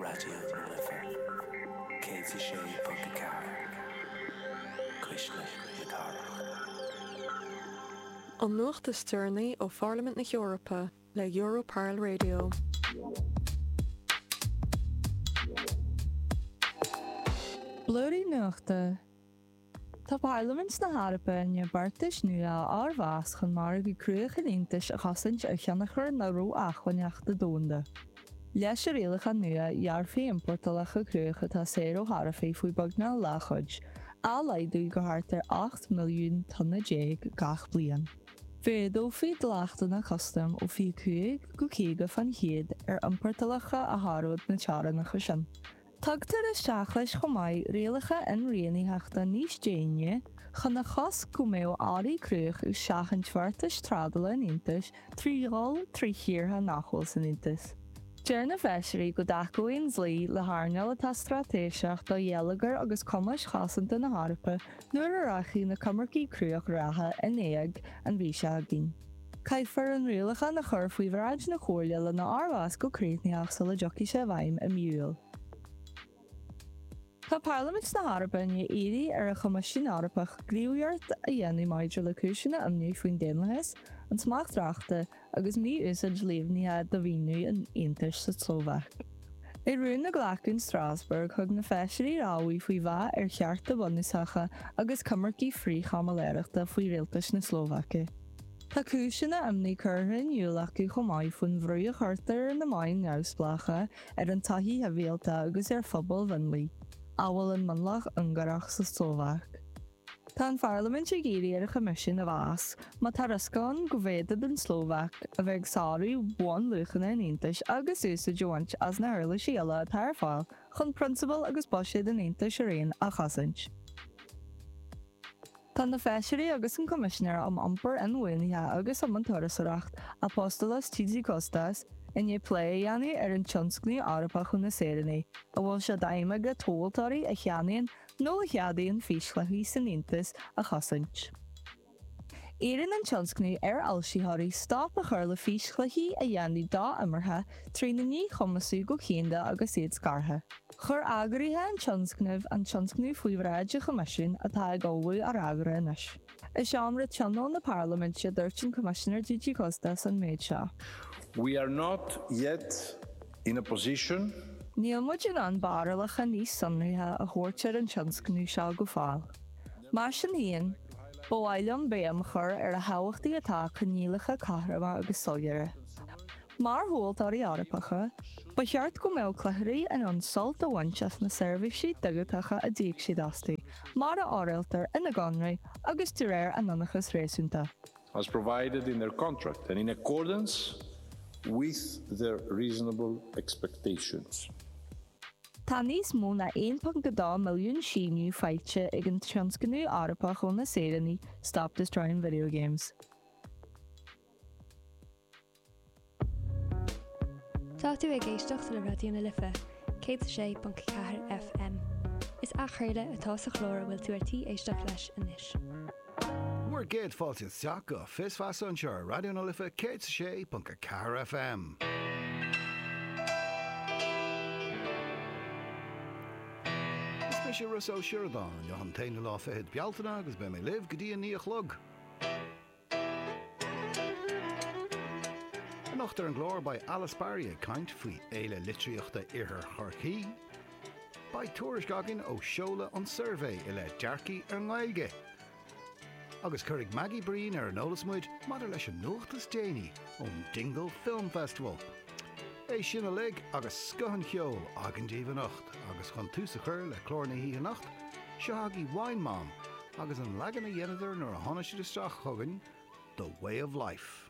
Raidió na Life 106.4, Cuisle na Cathrach. An nuacht is deireanaí ó Pharlaimint na hEorpa le Europarl Radio. Blúirí Nuachta. Tá Parlaimint na hEorpa i ndiaidh beartais nua a fhormheas chun margadh cruach an Aontais a chosaint ar thionchar na ró-acmhainneachta domhanda. Leis an rialachán nua, ghearrfaí iompórtálacha cruach atá saor ó tharaifí faoi beagnach leathchuid, á laghdú go thart ar 18 milliún tonna gach bliain. Mhéadófaí dleachtanna custaim ó 25 go 50 fán chéad ar iompórtálacha a sháródh na teorainneacha sin. Tugtar isteach leis chomh maith rialacha inrianaitheachta níos déine chun a chosc go mbeadh earraí cruach ag seachaint bheartais trádála an Aontais trí dhul trí thíortha nach bhfuil san Aontas. Deir na feisirí go dtacóidh an dlí le hearnáil atá straitéiseach do gheilleagar agus cumais chosanta na hEorpa nuair a rachaidh na coimircí cruach reatha in éag an mhí seo chugainn. Caithfear an rialachán a chur faoi bhráid na Comhairle lena fhormheas go críochnaitheach sula dtiocfaidh sé i bhfeidhm i mí Iúil. Tá Parlaimint na hEorpa i ndiaidh iarraidh ar an Choimisiún Eorpach gníomhaíocht a dhéanamh maidir le cúiseanna imní faoin daonlathas, an smacht reachta agus mí-úsáid líomhnaithe de mhaoiniú an Aontais sa tSlóvaic. I rún a glacadh in Strasbourg, thug na feisirí rabhadh faoi mheath ar chearta bunúsacha agus coimircí frith-chaimiléireachta faoi rialtas na Slóvaice. Tá cúiseanna imní curtha in iúl acu chomh maith faoin bhrú a chuirtear ar na meáin neamhspleácha, ar an tsochaí shibhialta agus ar phobail mhionlaigh, amhail an mionlach Ungárach sa tSlóvaic. Tá an Pharlaimint ag iarraidh ar an Choimisiún a mheas má tá riosca ann go bhféadfadh an tSlóvaic a bheith ag sárú bhunluachanna an Aontais agus úsáid a bhaint as na huirlisí uile atá ar fáil chun prionsabail agus buiséad an Aontais araon a chosaint. Tá na Feisirí agus an Coimisinéir um Iompar Inbhuanaithe agus um an Turasóireacht, Apostolos Tzitzikostas, i ndiaidh plé a dhéanamh ar an Tionscnamh Eorpach ó na Saoránaigh, a bhfuil sé d'aidhm aige tomhaltóirí a cheannaíonn nó a cheadaíonn físchluichí san Aontas a chosaint. Iarrann an tionscnamh ar fhoilsitheoirí stop a chur le físchluichí a dhéanamh do-imeartha trína ndíchumasú go cianda agus iad scartha. Chuir eagraithe an tionscnaimh an tionscnamh faoi bhráid an Choimisiúin atá ag ullmhú a fhreagra anois. I seomra tionóil na Parlaiminte, dúirt an Coimisinéir Tzitzikostas an méid seo. We are not yet in a position. Níl muid in ann barúlacha níos sonraithe a thabhairt ar an tionscnamh seo go fóill. Mar sin féin, ba mhaith liom béim a chur ar a thábhachtaí atá coinníollacha cothroma agus soiléire. Mar thomhaltóirí Eorpacha, ba cheart go mbeadh cluichirí in ann sult a bhaint as na seirbhísí digiteacha a d'íoc siad astu, mar a fhoráiltear ina gconradh agus de réir a n-ionchas réasúnta. As provided in their contract and in accordance with their reasonable expectations. Tá níos mó ná 1.2 milliún síniú faighte ag an Tionscnamh Eorpach ó na Saoránaigh Stop Destroying Video Games. Tá tú ag éisteacht le Raidió na Life 106.4 FM. Is athchraoladh atá sa chlár a bhfuil tú ar tí éisteacht leis anois. Bhur gcéad fáilte isteach go Fios Feasa anseo ar Raidió na Life 106.4 FM. Is mise Rossa Ó Sioradáin, inniu an t-aonú lá fichead Bealtaine agus beidh mé libh go dtí a 9 a chlog. Anocht ar an gclár beidh Alice Barry ag caint faoi Fhéile Litríochta Iarthar Chorcaí. Beidh tuairisc againn ó seoladh an suirbhé i leith dearcaí ar an nGaeilge. Agus cuirfidh Maggie Breen ar an eolas muid maidir leis an nuacht is déanaí ón Dingle Film Festival. É sin uilig agus scoth an cheoil againn daoibh anocht agus chun tús a chur le clár na hoíche anocht, seo agaibh Wine Mom agus an leagan a dheineadar nuair a tháinig siad isteach chugainn, The Way of Life.